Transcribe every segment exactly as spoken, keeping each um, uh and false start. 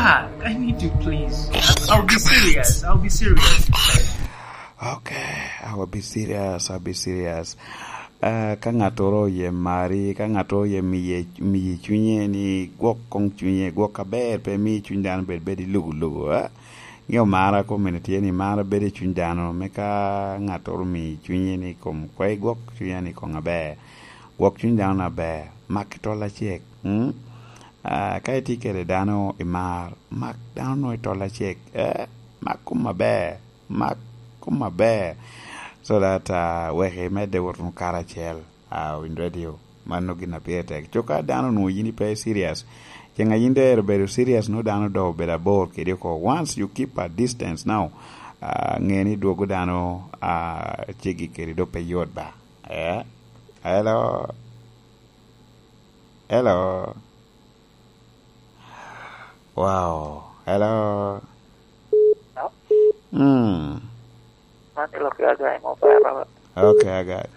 Ah, I need you, please. I'll be serious. I'll be serious. Okay, I will be serious. I'll be serious. Ah, ka ŋattoro oye mari, ka ŋattoro oye miye, miye cunye ni gwok koŋ cunye, gwok aber, pe mi cuny dano bed, bed i lugu lugu, eh? Ŋeo mar a community tye ni mar bedo i cuny dano, me ka ŋattoro omiyo cunye ni kom kwe gwok cunye ni koŋ aber, gwok cuny dano na ber, mak ki tol acek, mm? Ah, ka itye kede dano i mar, mak dano no i tol acek, eh, mak kom aber, mak kom aber, so that, ah, wek imedde wot wunu karacel, ah, Winy Radio. Mano gin a pire tek. Cuk ka dano onwoŋo yin ipe serious, ceŋ a yin doŋ ero bedo serious, nwoŋo dano doŋ obedo abor kedi oko. Once you keep a distance now, ah, ŋe ni dwogo dano, ah, ceggi kedi doŋ pe yot ba. Eh? Hello? Hello? Wow. Hello? Hello? Mm. Man ilok ya guy mo pero. Okay, I got it.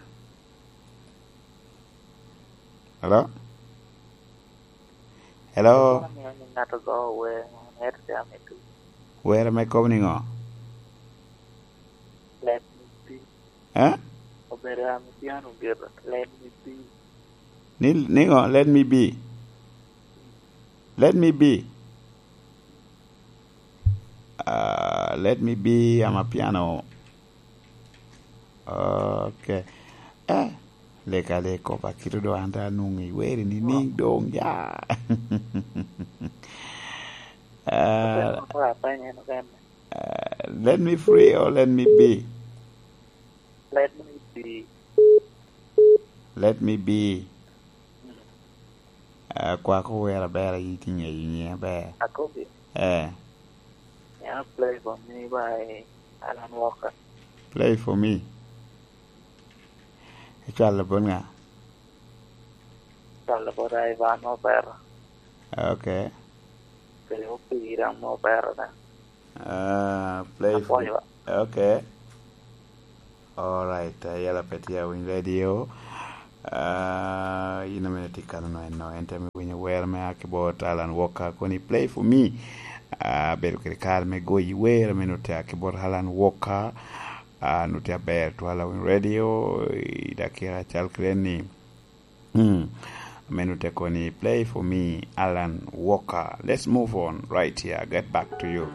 Hello? Hello? Ŋato go wer, ŋato jami tu. Wer me kobo niŋo? Let me be. Eh? Obedo ame piano gire. Let me be. Ni, niŋo? Let me be. Let me be. Ah, let me be, I'm a piano. Okay. Eh, lega le kopa kito do anda nung i weri ni ning dong ya. Ah, Obedo ame apenyo en okene. Ah, let me free or let me be? Let me be. Let me be. Mm. Ah, kwako wer aber, a yin tye ŋeyo nyiŋe aber. Akobi. Eh. Ya play for me by Alan Walker. Play for me. Icwalo bot ŋa? Cwalo bot Ivan Mopera. Okay. Kede opira Mopera da. Ah, play for me. Apwoyo. Okay. Alright, uh, yala pe tye awiny radio. Uh, yin amene tye kano no eno, en te me winyo wer me aki bot Alan Walker, koni play for me. Uh, bedo kede kare me goyi wer amene ote aki bot Alan Walker. Uh, nute aber twala winy radio, i dakika cal kede ni. Hmm. Amene ote koni play for me, Alan Walker. Let's move on right here. Get back to you.